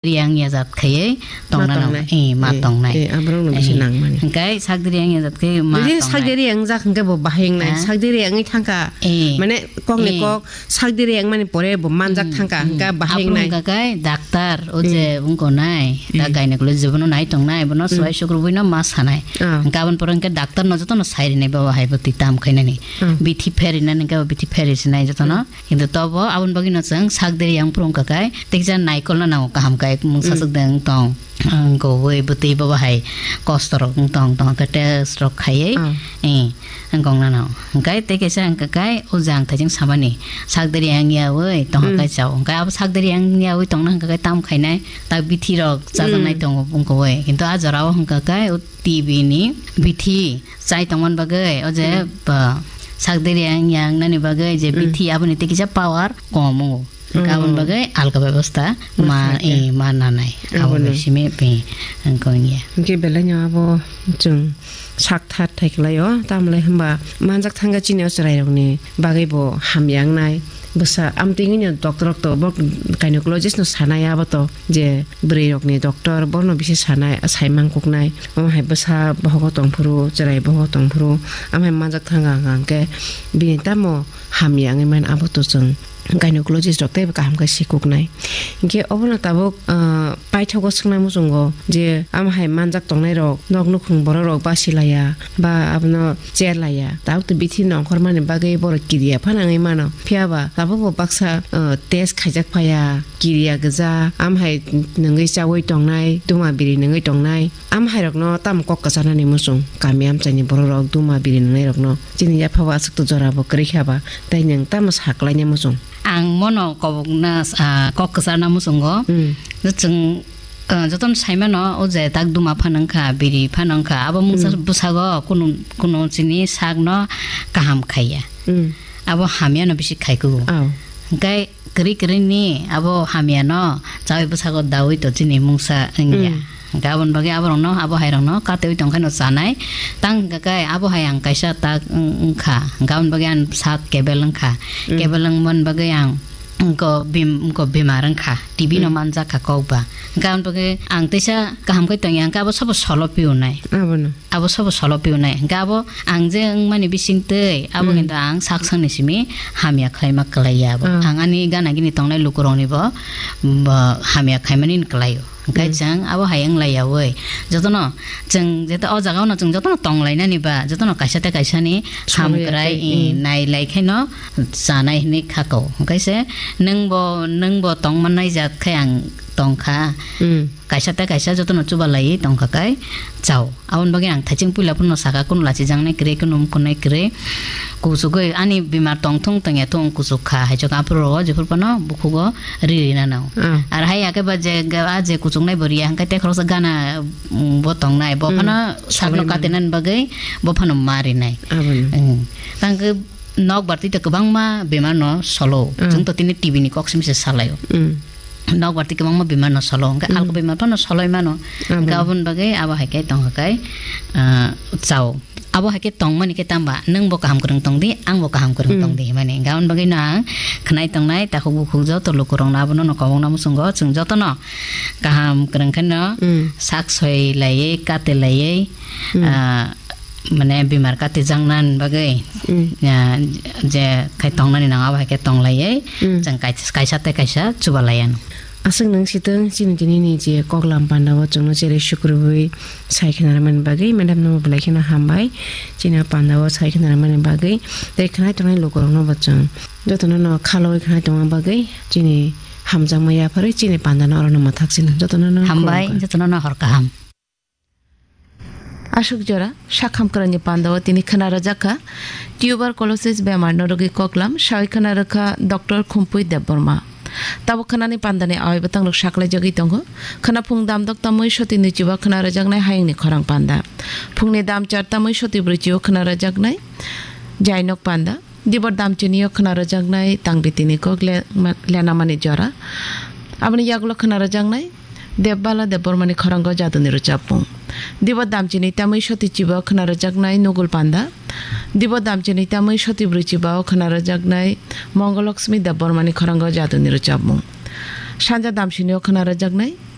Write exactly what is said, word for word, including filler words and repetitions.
Riyang ya jat khaiye Ma tongna nang, tongnai. Eh, ma Eh, tongnai. eh, aborok no bisi Eh, nangmani. Hingkai sak diri yang ya jat khaiye ma Jadi sak tongnai. diri yang jak hingke bo bahai wngnai. Ha? Sak diri yang thangka. Eh. Mane kok ni Eh. kok sak diri yang mani pore bo manjak Hmm, thangka hmm. hingka bahai Aphuru wngnai. Hingka kai daktar o je Hmm. wngko nai. Ta Hmm. gynecologist bono nai tongnai. Bono Hmm. swai sukrubui no ma sanai. Ah. Hingka aboni pore hingke daktar no joto no sai rinai baba hai bo twi tam khainani. Hmm. Bithi pheri nani hingke bo bithi pheri sinai joto no. Hmm. Kintu tobo aboni bagwi no chwng sak diri yang phuru wngka kai, tei kisa naikolna nango kaham kai, mungsa Hmm. swk de wng tong, wng kowoi bwtwi bobo hai kosto rok wng tong, tong khe test rok khaiwi, Ah. eh, wng kong nano. Hwnkhe tei kisa wngka kai, o jang thaiching samani sak diri yang yawi tongkha Hmm. kai chao. Hwnkhe abo sak diri yang yawi tongna hwnkha kai tam khainai, ta bithi rok chajaknai Hmm. tongo wng kowoi. Kintu a jora o hwnkha kai, o T B ni bithi chai tongmani bagwi, o je Hmm. ba, sak diri yang, yang nani bagwi je Hmm. bithi aboni tei kisa power kom wngo. Hwnkhe aboni Hmm. bagwi alka bebosta ma, Bwsai khe. eh, ma nanai. Abo Aboni. bai simi pi, ang kong ya. Hwnkhe belai no abo chwng sak thar thai kwlai o, tamle hwnba manjak thangkha chini o chwrai rokni bagwi bo hamya wngnai. Bwsa amtwingwino doctor rok to bo gynecologist no sanai abo to je bwrwi rokni doctor bono bisi sanai, saimang kuknai. Omo hai bwsa bohogo tongphuru, chwrai bohogo tongphuru, omo hai manjak thangkha hwnkha hwnkhe bini tamo hamya wngwi mano abo to chwng gynecologist rok teibo kaham khe sikuknai. Hinkhe obono tabuk, ah, paithago swknai muchungo je omo hai manjak tongnai rok nok nukhung borok rok basi laiya ba abono cher laiya. Tabuk to bithi nongkhormani bagwi borok kiriya phano wngwi mano. Phiya ba tabukbo baksa, uh, test khaijak phaiya, kiriya gwja, amhai nungwi chaui tongnai, duma biri nungwi tongnai. Amhairokno tamo kok kwcharnani muchung, kami amchaini bororok duma biri nungnairokno chini yaphabo aswk to jorabo kwrwi kha ba, tei nwng tamo sa kwlaina muchung? Ang mono kobokna, ah, kok kwcharna muchungo. Hmm. Chwng Ah, jotono saimano, o je tak duma phano wngkha, biri phano wngkha, abo mungsa Hmm. bwsago kunu, kunu chini sakno kaham khaiya. Hmm. Abo hamyano bisi khaikugo. Oh. Hwnkhe kwrwi kwrwini abo hamyano chaui bwsago daui to chini mungsa wngya. Hmm. Hwnkhe aboni bagwi aborokno, abo hairokno kateui tongkhaino chanai. Tang hwnkhe abo hai ang kaisa tak wng-, wngkha. Hwnkhe aboni bagwi ang sak kebel wngkha. Hmm. Kebel wngmani bagwi ang Wngko bim-, wngko bemar wngkha, T B no Hmm. manjak kha kok ba. Hwnkhe aboni bagwi ang teisa kaham khe tongya, hwnkhe abo sobo solo piunai. Abono. Abo sobo solo piunai. Hwnkhe abo ang je wngmani bising twi, abo Hmm. kintu ang sak sangni simi hamya khlaima kwlaiya abo. Ah. Ang ani gana gini tongnai lukurokni bo, bo hamya khaimani kwlaio. Hwnkhe Hmm. chwng abo hai wng laiya oi. Jotono chwng jeto o jaga ono chwng jotono tong lainani ba, jotono kaisa tei kaisa ni Solo ya hamkrai, tei, i, hmm. nai lai khe no chanai hinwi kha kok. Hwnkhe se nwng bo, nwng bo tong mannai jat khe ang tong kha. Hmm. Kaisa tei kaisa jotono chuba laiwi tong kha kai chao. Aboni bagwi ang thaiching puila phano saka, kunu lachijaknai kwrwi, kunu wngkuknai kwrwi. Kuchugwi ani bemar tongthung tongya thung kuchuk kha, haichuk aphuru rogo jephuru phano bukhugo ri ri nano. Ah. Ar hai ya khe ba je ga-, a je kuchuknai bo riya hwnkhe tei khoroksa gana, mm, bo tongnai, bo Mm. phano sakno Sabai mano. Katinani bagwi bo phano ma rinai. Abono. Mm. Tang khe nok barti to kwbangma bemar no solo. Mm. Chwng to tini T B ni kok simi se salaio. Mm. Nok barti kwbangma bemar no solo. Hwnkhe Mm. alko bemar phano soloi mano. Abo. Hwnkhe aboni bagwi abo hai khe tongkha kai, ah, chao. Abo hai khe tongmani khe tamba nwng bo kaham kwrwng tong di, ang bo kaham kwrwng Mm. tong di himani. Hwnkhe aboni bagwi no ang khwnai tongnai takhuk bukhuk joto lukurokno abono no kobokna muchungo chwng jotono kaham kwrwng khe no Mm. sak soi laiwi, kate laiwi, Mm. ah, mane bemar kati jaknani bagwi, Mm. ah, je khai tongnani nango, abo hai khe tong laiwi, Mm. chwng kaisa, kaisa tei kaisa chuba laiya. Aswk nwng sitwng chini tini ni je koklam panda o chwngno chere sukrubui sai khna rwmani bagwi madam no belai kheno hambai. Chini o panda o sai khna rwmani bagwi tei khwnai tongnai lukurokno bo chwng jotono no khalogwi khwnai tongma bagwi chini hamjakma yapharwi chini panda no oro no mwthak sino jotono no Hambai, khulumkha. Jotono no hor kaham. Aswk jora sakham kwrwngni pandao tini khwna rwjak kha tuberculosis bemar no rwgwi koklam, sawi khwna rwkha Doctor Khumpui Debbarma. Tabuk khwnani pandani awai bwtang rok saklai jagwi tongo. Khwna phung damdok tamwi soti nwichibo khwna rwjaknai hayungni khorang panda. Phungni dam char tamwi soti brwichibo khwna rwjaknai jainok panda. Dibor damchini o khwna rwjaknai tangbitini kok le-, ma-, lenamani jora. Aboni yagulo khwna rwjaknai Debbala Debbarmani khorang o jaduni rwchapmung. Dibor damchini tamwi soti chiba o khwna rwjaknai Nugul Panda. Dibor damchini tamwi soti brwi chiba o khwna rwjaknai Mongoloksmi Debbarmani khorang o jaduni rwchapmung. Sanja damchini o khwna rwjaknai